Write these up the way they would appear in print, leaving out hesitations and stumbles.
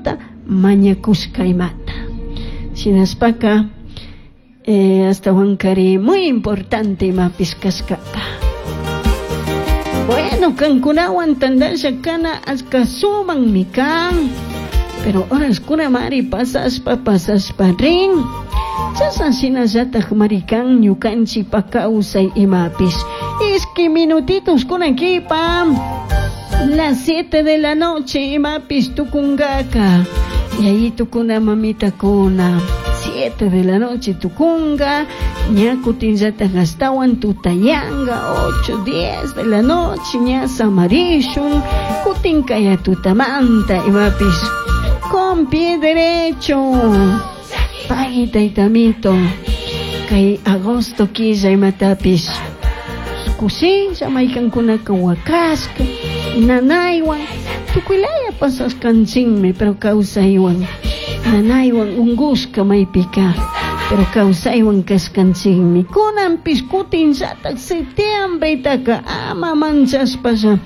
Diosmanta mañakushka imata. Shinaspaka astawankari muy importante imapis kashkaka. Bueno, kankunawan tandasha kana achka sumanmi kan. Pero horaskuna mari pasashpa pasashpa rin. Chashan shinallataj marikan ñukanchikpa kawsay imapis. Ishki minutitos kunakipa. Las 7 de la noche imapis tukungaka. Y ahí tukuna mamita kuna. 7 de la noche tukunga. Ña kutinllataj astawan tutayanga. 8, 10 de la noche ña samarishun. Kutinkaya tutamanta imapis. Con pie derecho. Pagui taytamito. Kay agosto killa imatapis. Kushilla maykankunaka wakashka. Nanaywan tukuylaya pasashkanchinmi, pero kawsaywan. Nanaywan ungushka maypika, pero kawsaywan kashkanchinmi. Kunanpis kutinllataj septiembretaka ama manchashpalla.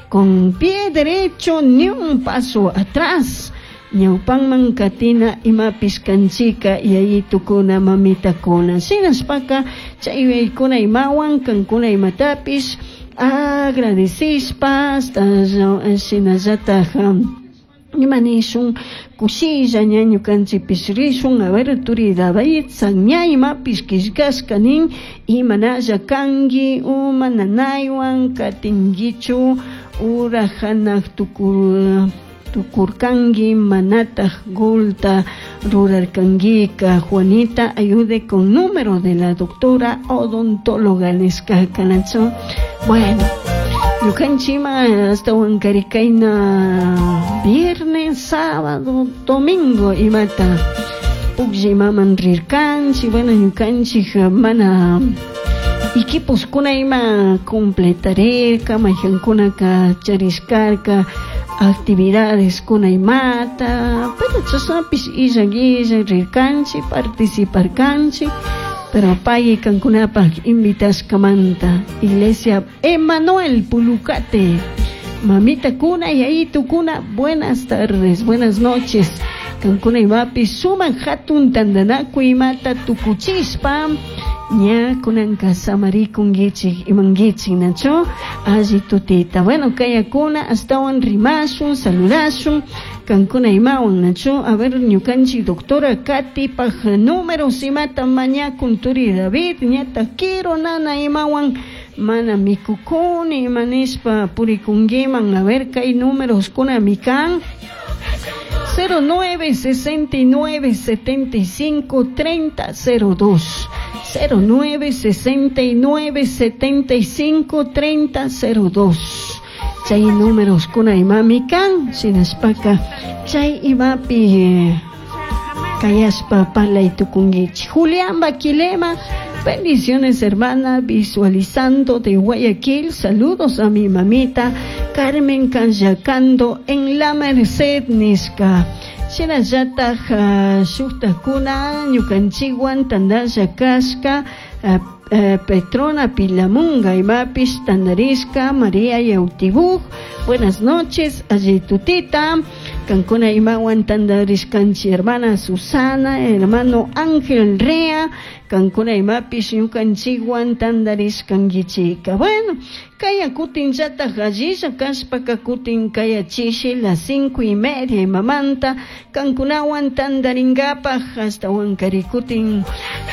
Con pie derecho ni un paso atrás. Ñawpanman katina imapis kanchika yayitukuna mamitakuna. Shinaspaka chay yuyaykuna imawan kankuna imatapis agradecishpa hasta shinallataj imanishun kushilla ña ñukanchikpish rishun. A ver turi David ña imapis killkashka nin imanalla kanki uma nanaywan katinkichu ura hanaq tukurkanki manataj golta rurarkankika. Juanita ayude con número de la doctora odontóloga nishka kanachu. Bueno, ñukanchikma hasta wankarikayna viernes, sábado, domingo imata pukllay rirkanchik. Bueno, ñukanchik mana equipos kuna ima completarirka, mayhankunaka charishkarka actividades kuna imata, pero chashnapis illan illan rirkanchik, participarkanchik, pero pay kankunapaj invitashkamanta. Iglesia Emanuel Pulucate, mamita kuna yayitu kuna, buenas tardes, buenas noches. Kankuna imapi suman hatun tandanakuy imata tukuchishpa ña kunanka samarikunkichik imankichik nachu alli tutita. Bueno, kayakuna astawan rimashun, saludashun kankuna imawan nachu. A ver, ñukanchik doctora Katipaj números imata mañakun turi David ñata quiero nana imawan mana mikukuni imanishpa purikunkiman. A ver, kay números kuna mikan 09 69 75 30 02 09 69 75 30 02. Chay números kuna imami kan shinashpaka chay imapi kayashpa parlay tukunkichik. Julián Baquilema, bendiciones hermana, visualizando de Guayaquil. Saludos a mi mamita Carmen Canyacando en la Merced nishka. Shinallataj shuktakuna ñukanchikwan tandalla kashka Petrona Pilamunga imapis tandarishka María Yautibuj. Buenas noches, allitutita. Kankuna imawan tandarishkanchi hermana Susana, hermano Ángel Rea. Kankuna imapis ñukanchikwan tandarishkankichika. Bueno, kaya kutinllataj allilla kashpaka kutin kaya chishi las 5:30 imamanta kankunawan tandarinkapaj hasta wankari kutin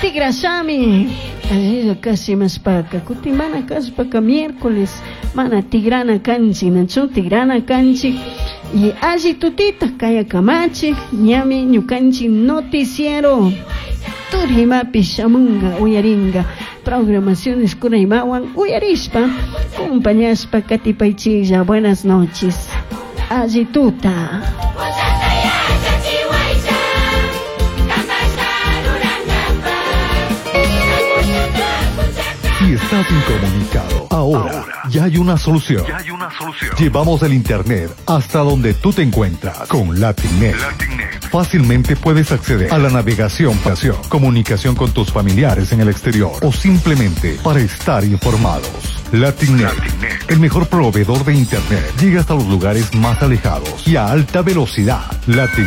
tigrashami. Allilla kasi maspaka kutin mana kashpaka miércoles mana tigrana kanchik nachu tigrana kanchik. Y alli tutita kaya kamachik ñami ñukanchik noticiero turimapi shamunga uyaringa programaciones kuna imawan uyarishpa compañashpa katipaychilla. Buenas noches, alli tuta. Si estás incomunicado, ahora ya hay una solución. Llevamos el internet hasta donde tú te encuentras con LatinNet. Fácilmente puedes acceder a la navegación, comunicación con tus familiares en el exterior o simplemente para estar informados. LatinNet, el mejor proveedor de internet, llega hasta los lugares más alejados y a alta velocidad. LatinNet.